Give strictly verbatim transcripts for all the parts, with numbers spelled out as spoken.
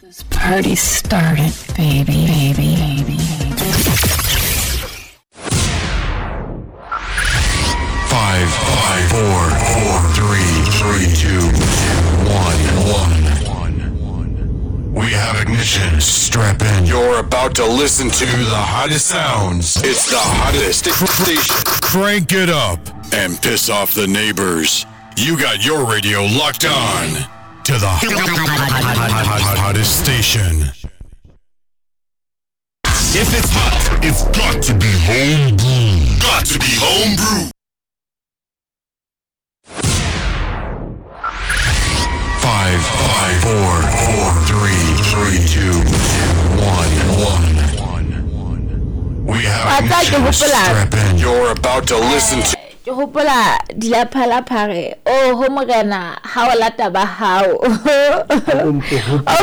This party started, baby, baby, baby. Five, five, four, four, three, three, two, one, one. We have ignition. Strap in. You're about to listen to the hottest sounds. It's the hottest station. Crank it up and piss off the neighbors. You got your radio locked on to the hottest station. If it's hot, it's got to be homebrew. Got to be homebrew. Five, five, four, four, three, three, two, one, one. We have ignition. Strap in. You're about to listen to. Ke hopola dilaphalapha re oh ho morena ha o lata ba hao o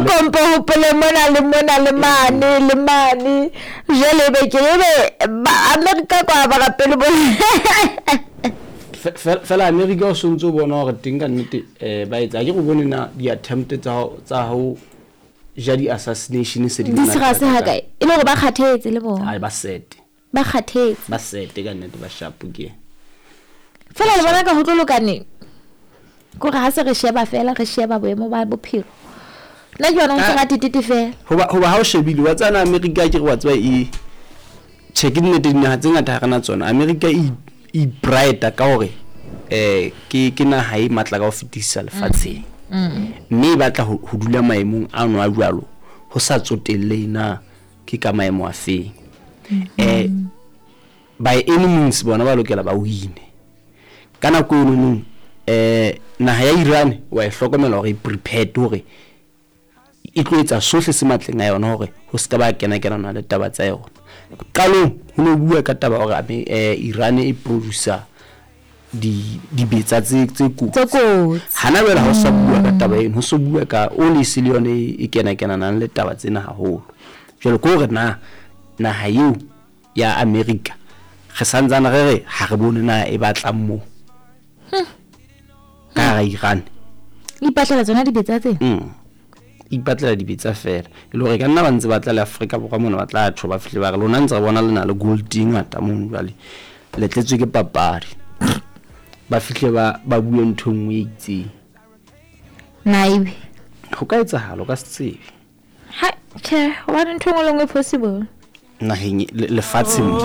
kompo hopole mona le mona le mane le mane jwale be ke ebe ba America kwa ba rapele bo fela America o sontse o bona hore teng ka nnete eh ba etsa ke go bone na di attempt tsa tsa ho ja di assassination se di di sera se ha kae e le hore ba kgathetse le bona ai ba sete ba kgathetse ba sete ka nnete ba sharp ke fela le bona ka ho tlo lokaneng kore ha se re sheba fela re sheba boemo ba bophelo nna ke yona ho se ratitete fela hoba hoba ha o shebile wa tsana America ke re wa tseba e check nnete dinaha tse ngata ha rena tsona America e e brighter ka hore eh ke ke naha e matla ka ho fetisa lefatsheng mme e batla ho dula maemong a no a jwalo ho sa tsotelle na ke ka maemo a feng eh by any means bona ba lokela ba wine ka nako eno nong eh naha ya Iran wa e hlokomela hore e prepared hore e tlo etsa sohle se matleng a yona hore ho ska ba kena kena na le taba tsa yona. Qalong ho no bua ka taba hore eh Iran e producer di dibetsa tse tse kotsi hana jwale ha o sa bua ka taba eno ho so bua ka oli se le yone e kena kena nang le taba tsena haholo. Jwale ke hore na naha eo ya America re santsane re re ha re bone na e batlang mo ka ra Iran ipatlela tsona dibetsa tse mm ipatlela dibetsa fela e le hore ka nna ba ntse ba tla le Afrika Borwa mona ba tla tho ba fihle ba re lona ntse re bona le na le gold e ngata mono jwale le tletswe ke papadi ba fihle ba ba bue ntho e nngwe e itseng naive ho ka etsahala o ka se tsebe ha che hobane ntho e nngwe le nngwe possible naheng lefatsheng.